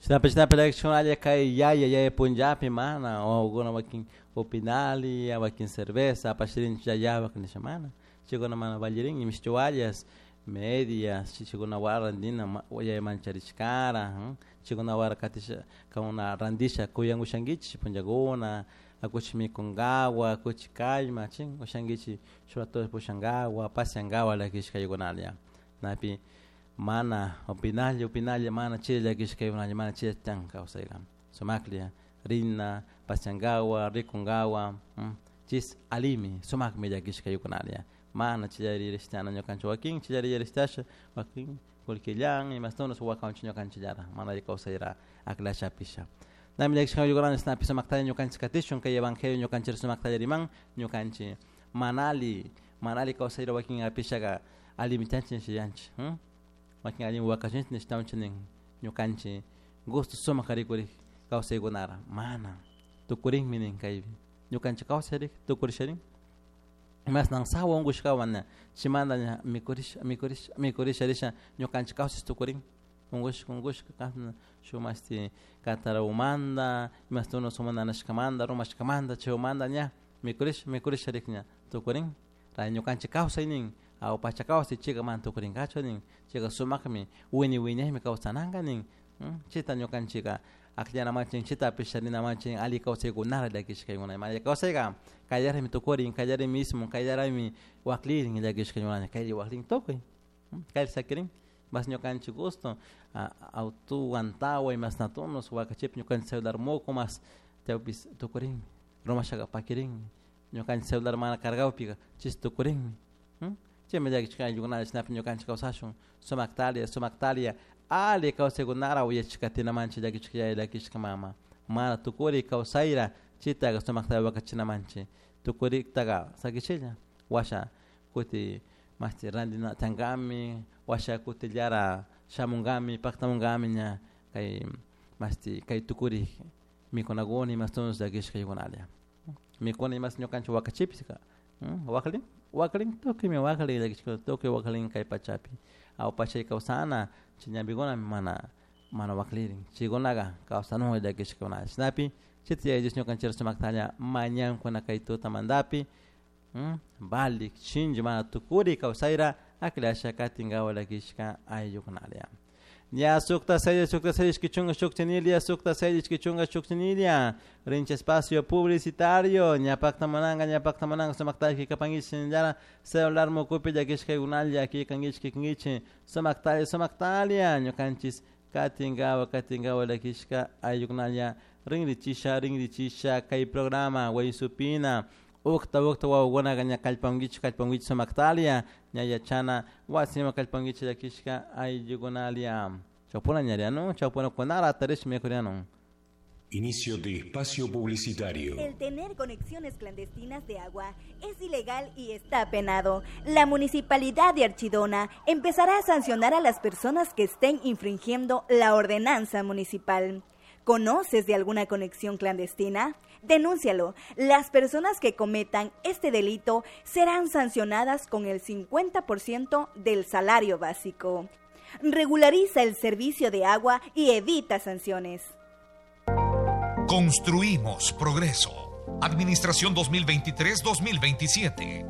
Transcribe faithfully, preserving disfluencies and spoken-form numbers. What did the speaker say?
Shinapish shinapish kay yaya yaya punllapi mana wawakuna wakin upinali wakin cerveza apashirinchik yayapak nisha mana chaykuna mana vallirin mishki wallas medias chikuna randina yaya mancharishkara chaykuna wara katisha kankuna randisha kuyan ushankichik punllakuna akuchik mikunkawa akuchik kallma chin ushankichik shuk rato pushankawa pasiankawa llakishkaykunalla napi mana upinalla upinalla mana chay llakishkaykunalla mana chay tiyan kawsayka sumaklla rina pasiankawa rikunkawa chis alimi sumakmi llakishkaykunalla mana chillari rishtana ñukanchik wakin chillari rishtasha wakin kullkillan imastunas wakanchik ñukanchillara mana alli kawsayra akllashapisha nami llakishkaykunalla shinapi sumaktalla ñukanchik katishun kay evangelio ñukanchik sumaktalla riman ñukanchik mana alli mana alli kawsayra wakin apishaka allimi chanchik nishayanchik wakin allimi wakashinchik nishtawanchik nin ñukanchik gusto sumak rikurik kawsaykunara mana tukurinmi nin kaypi ñukanchik kawsayrik tukurisharin imasnan sawa unkushkawan chimanta ña mikurisha mikurisha mikurisha risha ñukanchik kawsay tukurin unkushka unkushka kashna shuk mashti katarawmanta imashtunas uma nanashkamanta rumashkamanta chaymanta ña mikurisha mikurisha rik ña tukurin ray ñukanchik kawsay nin aw pacha kawsay chayka mana tukurinkachu nin chayka sumakmi wiñay wiñaymi kawsananka nin chayta ñukanchika akllanamanchik chaytapish rinamanchik alli kawsaykunara llakishkaykuna mana alli kawsayka kallarimi tukurin kallarimi ismun kallarimi waklirin llakishkaykunalla kaylla waklin tukuy kaylla sakirin mas ñukanchik gusto auto antawa imasnatunos wakachipis ñukanchik celular muku mas chaypis tukurinmi rumashaka pakirinmi ñukanchik celular mana cargawpika chis tukurinmi chaymi llakishka ayllukunalla chaynapi ñukanchik kawsashun sumaktalia sumaktalia alli kawsaykunara uyachik katinamanchik llakishka yaya llakishka mama mana tukuri kawsayra chaytaqa sumakta wakachinamanchik tukuriktaqa sakichilla washa kuti mashti rantina tiyankami washa kutillara shamunkami paktamunkami ña kay mashti kay tukurik mikunakuna imashtunas llakishkaykunalla mikuna imas ñukanchik wakachipis waklin waklin tukuymi waklin llakishka tukuy waklin kay pachapi aw pachay kawsana chay ñampikuna mana mana waklirin chaykunaka kawsanun llakishkakuna chaynapi chayta Yaya Dios ñukanchik sumaktalla mañankuna kay tutamantapi valik shinchi mana tukuri kawsayra aklasha katinkawa llakishka ayllukunalla ña sukta seis sukta seis ishki chunka shuk chinilia sukta seis ishki chunka shuk chinilia rincha espacio publicitario ña paktamananka ña paktamananka sumaktalla kapankichik shinallara celular mukupi llakishkaykunalla kikankichik kikankichik sumaktalla sumaktalla ñukanchik katinkawa katinkawa llakishka ayllukunalla rinrichisha rinrichisha kay programa Waysupina ukta ukta wawakunaka ña kallpankichik kallpankichik sumaktalia ña yachana wasiman kallpankichik llakishka ayllukunalla chawpuna ñariano chawpuna kunara atarish mikuriano. Inicio de espacio publicitario. El tener conexiones clandestinas de agua es ilegal y está penado. La Municipalidad de Archidona empezará a sancionar a las personas que estén infringiendo la ordenanza municipal. ¿Conoces de alguna conexión clandestina? Denúncialo. Las personas que cometan este delito serán sancionadas con el cincuenta por ciento del salario básico. Regulariza el servicio de agua y evita sanciones. Construimos progreso. Administración dos mil veintitrés dos mil veintisiete.